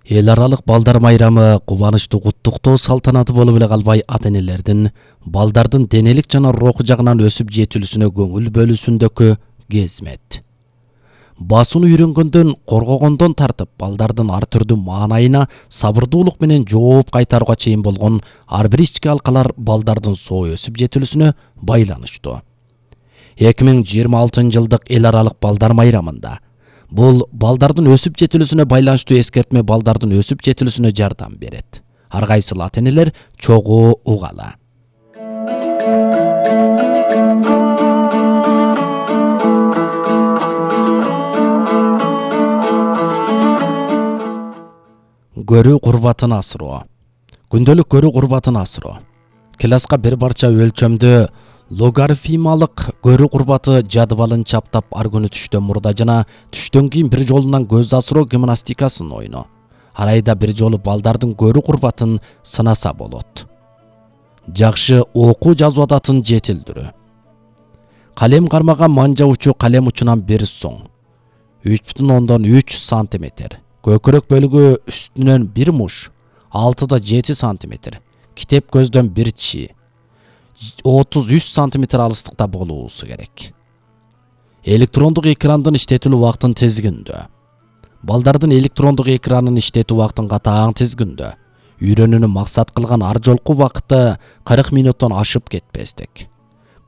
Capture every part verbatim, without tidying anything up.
Эл аралык балдар майрамы кубанычтуу куттуктоо салтанаты болуп эле калбай, ата-энелердин балдардын денелик жана руху жагынан өсүп жетилүүсүнө көңүл бөлүүсүндөгү кезмет. Басууну үйрөнгөндөн, коргогондон тартып, балдардын ар түрдүү маанайына сабырдуулук менен жооп кайтарууга чейин болгон ар бир ички алкалар балдардын соо өсүп жетилүүсүнө байланыштуу. эки миң жыйырма алтынчы жылдык эл аралык балдар майрамында бул балдардын өсүп жетилүүсүнө байланыштуу эскертме балдардын өсүп жетилүүсүнө жардам берет. Ар кайсыл ата-энелер чогуу угала. Көрүү курбатын асыруу. Күндөлүк көрүү курбатын асыруу. Класска бир парча өлчөмдө логарифмалык көрүү курбаты жадыбалын чаптап, ар күнү түштөн мурда жана түштөн кийин бир жолунан көз асыроо гимнастикасын ойноо. Ар айда бир жолу балдардын көрүү курбатын сынаса болот. Жакшы окуу жазуу адатын жетилдирүү. Калем кармага манжа учу калем учунан бир соң. үч бүтүн ондон үч сантиметр. Көкүрөк бөлүгү үстүнөн бир муш, алтыда жети сантиметр. Китеп көздөн бир чи. отуз үч сантиметр алыстыкта болуусу керек. Электрондук экрандын иштетилүү убактын тизгиндөө. Балдардын электрондук экранын иштетүү убактын катаң тизгиндөө. Үйрөнүүнү максат кылган ар жолку убакыты кырк минуттан ашып кетпестик.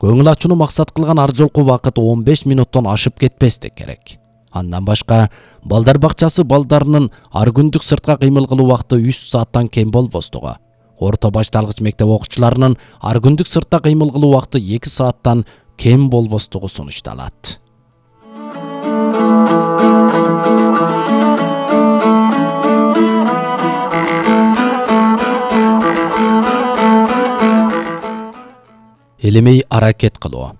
Көңүл ачууну максат кылган ар жолку убакыт он беш минуттан ашып кетпестик керек. Андан башка, балдар бакчасы балдарынын ар күндүк сыртка кыймыл кылуу убакыты үч сааттан кем болбостугу. Орто башталгыч мектеп окуучуларынын ар күндүк сыртта кыймыл кылуу убакыты эки сааттан кем болбостугу сунушталат. Элемей аракет кылуу.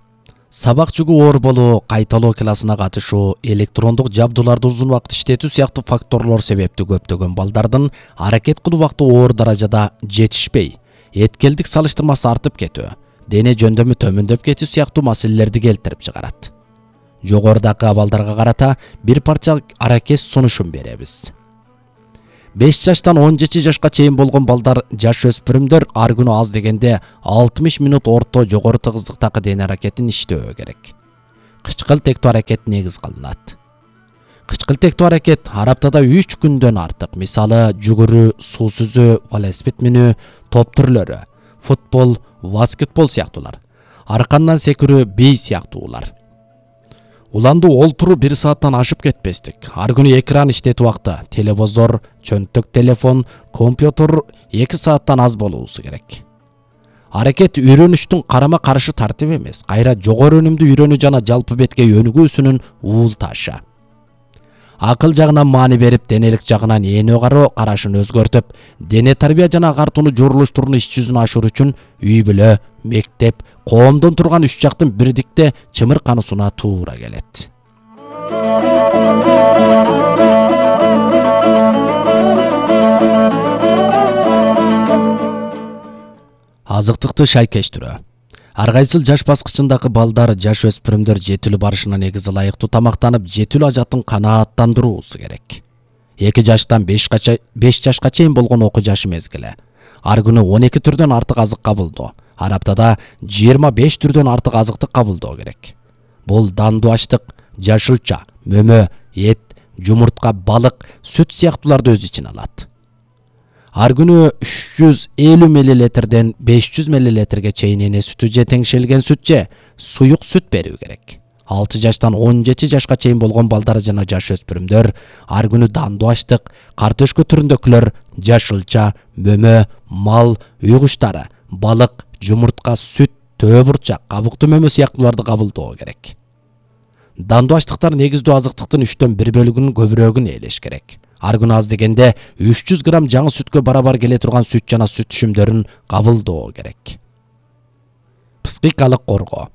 Сабак жүгү оор болуу, кайталоо классына катышуу, электрондук жабдууларды узун убакыт иштетүү сыяктуу факторлор себептүү көптөгөн балдардын аракет кылуу убакыты оор даражада жетишпей, эткелдик салыштырмасы артып кетүү, дене жөндөмү төмөндөп кетүү сыяктуу маселелерди келтирип чыгарат. Жогорудагы абалдарга карата бир парча аракет сунушун беребиз. беш жаштан он жети жашка чейин болгон балдар, жаш өспүрүмдөр ар күнү аз дегенде алтымыш минут орто жогору тыгыздыктагы дене аракетин иштөө керек. Кычкыл тектүү аракет негиз кылынат. Кычкыл тектүү аракет ар аптада үч күндөн артык, мисалы жүгүрүү, суу сүзүү, велосипед минүү, топ түрлөрү, футбол, баскетбол сыяктуулар, аркандан секирүү, бей сыяктуулар. Уланду олтуруу бир сааттан ашып кетпестик. Ар күнү экран иштетүү убакыты, телевизор, чөнтөк телефон, компьютер эки сааттан аз болуусу керек. Аракет үйрөнүштүн карама каршы тартип эмес, кайра жогору өнүмдүү үйрөнүү жана жалпы бетке өнүгүүсүнүн уул ташы. Акыл жагынан маани берип, денелик жагынан эне кароо карашын өзгөртүп, дене тарбия жана агартууну журулуштууну иш жүзүнө ашыруу үчүн үй бүлө, мектеп, коомдон турган үч жактын бирдикте чымыркануусуна туура келет. Азыктыкты шайкештирүү. Ар кайсыл жаш баскычындагы балдар, жаш өспүрүмдөр жетилүү барышына негизи ылайыктуу тамактанып, жетилүү ажатын канааттандыруусу керек. эки жаштан беш жашка чейин болгон окуу жашы мезгили. Ар күнү он эки түрдөн артык азык кабылдоо, ар аптада жыйырма беш түрдөн артык азыктык кабылдоо керек. Бул дандуу аштык, жашылча, мөмө, эт, жумуртка, балык, сүт сыяктууларды өз ичине алат. Ар күнү үч жүз элүү миллилитрден беш жүз миллилитрге чейин эне сүтү же теңшелген сүт же суюк сүт берүү керек. алты жаштан он жети жашка чейин болгон балдар жана жаш өспүрүмдөр ар күнү дандуу аштык, картөшкө түрүндөгүлөр, жашылча, мөмө, мал, үй куштары, балык, жумуртка, сүт, төө бурчак, кабуктуу мөмө сыяктууларды кабылдоо керек. Дандуу аштыктар негиздүү азыктыктын үчтөн бир бөлүгүнүн көбүрөөгүн ээлеш керек. Ар күнү аз дегенде үч жүз грамм жаңы сүткө барабар келе турган сүт жана сүт түшүмдөрүн кабылдоо керек. Психикалык коргоо.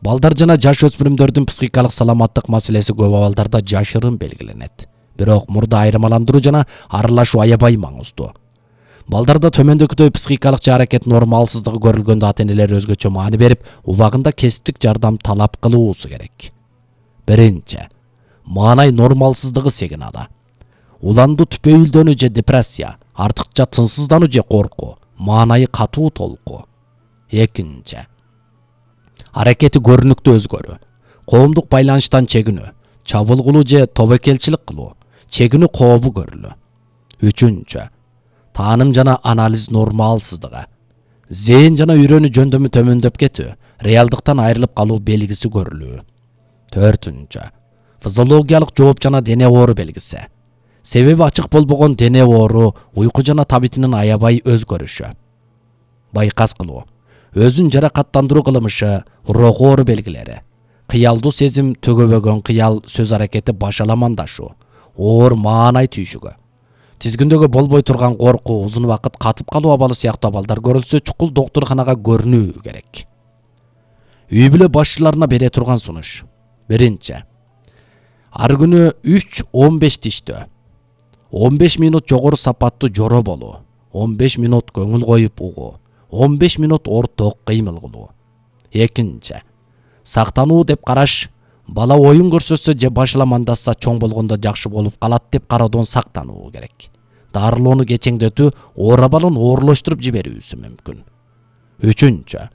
Балдар жана жаш өспүрүмдөрдүн психикалык саламаттык маселеси көп абалдарда жашырын белгиленет. Бирок мурда айырмаландыруу жана аралашуу аябай маңыздуу. Балдарда төмөндөгүдөй психикалык же аракет нормалсыздыгы көрүлгөндө ата-энелер өзгөчө маани берип, убагында кесиптик жардам талап кылуусу керек. Биринчи, маанай нормалсыздыгы сигналы. уландуу түпөйүлдөнүү же депрессия, артыкча тынсыздануу же коркуу, маанайы катуу толку. Экинчи, аракети көрүнүктүү өзгөрүү, коомдук байланыштан чегинүү, чабылгылуу же тобокелчилик кылуу, чегинүү кообу көрүлүү. Үчүнчү, тааным жана анализ нормалсыздыгы, зээн жана үйрөнүү жөндөмү төмөндөп кетүү, реалдыктан айрылып калуу белгиси көрүлүү. Төртүнчү, физиологиялык жооп жана дене оору белгиси, себеби ачык болбогон дене оору, уйку жана табитинин аябай өзгөрүшү. Байкас кылуу, өзүн жаракаттандыруу кылмышы, рок оору белгилери, кыялдуу сезим, төгөбөгөн кыял, сөз аракети башаламандашуу, оор маанай түйшүгү, тизгиндөгү болбой турган коркуу, узун убакыт катып калуу абалы сыяктуу абалдар көрүлсө, чукул доктурканага көрүнүү керек. Үй бүлө башчыларына бере турган сунуш. Биринчи, ар күнү үч он беш тиштөө, он беш минут жогору сапаттуу жоро болуу, он беш минут көңүл коюп угуу, он беш минут орток кыймыл кылуу. Экинчи, сактануу деп караш, бала оюн көрсөтсө же башаламандаса чоң болгондо жакшы болуп калат деп кароодон сактануу керек. Дарылоону кечеңдетүү оор абалын оорлоштуруп жиберүүсү мүмкүн. Үчүнчү,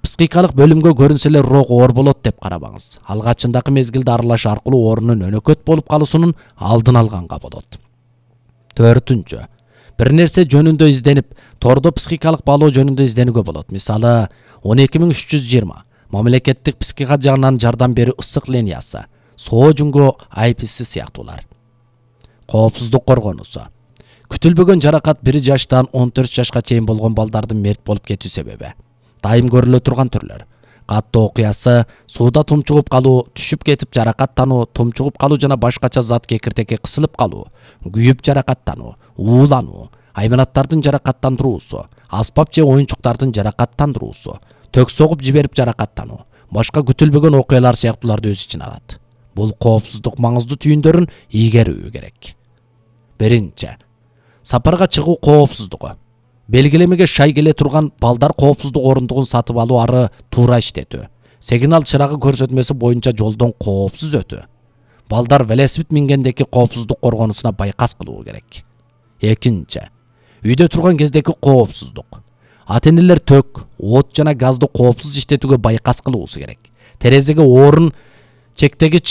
психикалык бөлүмгө көрүнсө эле рок оор болот деп карабаңыз. Алгачындагы мезгилде аралаш аркылуу оорунун өнөкөт болуп калуусунун алдын алганга болот. Төртүнчү, бир нерсе жөнүндө изденип, тордо психикалык баалоо жөнүндө изденүүгө болот. Мисалы, он эки миң үч жүз жыйырма мамлекеттик психика жагынан жардам берүү ысык линиясы, соо жүнгө ай пи си сыяктуулар. Коопсуздук коргонуусу, күтүлбөгөн жаракат бир жаштан он төрт жашка чейин болгон балдардын мерт болуп кетүү себеби. Дайым көрүлө турган түрлөр: каттоо окуясы, сууда тумчугуп калуу, түшүп кетип жаракаттануу, тумчугуп калуу жана башкача зат кекиртекке кысылып калуу, күйүп жаракаттануу, уулануу, айбанаттардын жаракаттандыруусу, аспап же оюнчуктардын жаракаттандыруусу, тök согуп жиберип жаракаттануу, башка күтүлбөгөн окуялар сыяктууларды өз ичине алат. Бул коопсуздук маңыздуу түйүндөрүн ийгерүү керек. Биринчи, сапарга чыгуу коопсуздугу. Белгилемеге шай келе турган балдар коопсуздук орундугун сатып алуу ары туура иштетүү. Сигнал чырагы көрсөтмөсү боюнча жолдон коопсуз өтүү. Балдар велосипед мингендеки коопсуздук коргонусуна байкас кылуу керек. Экинчи, үйдө турган кездеки коопсуздук. Ата-энелер тök, от жана газды коопсуз иштетүүгө байкас кылуусу керек. Терезеге орун чектегич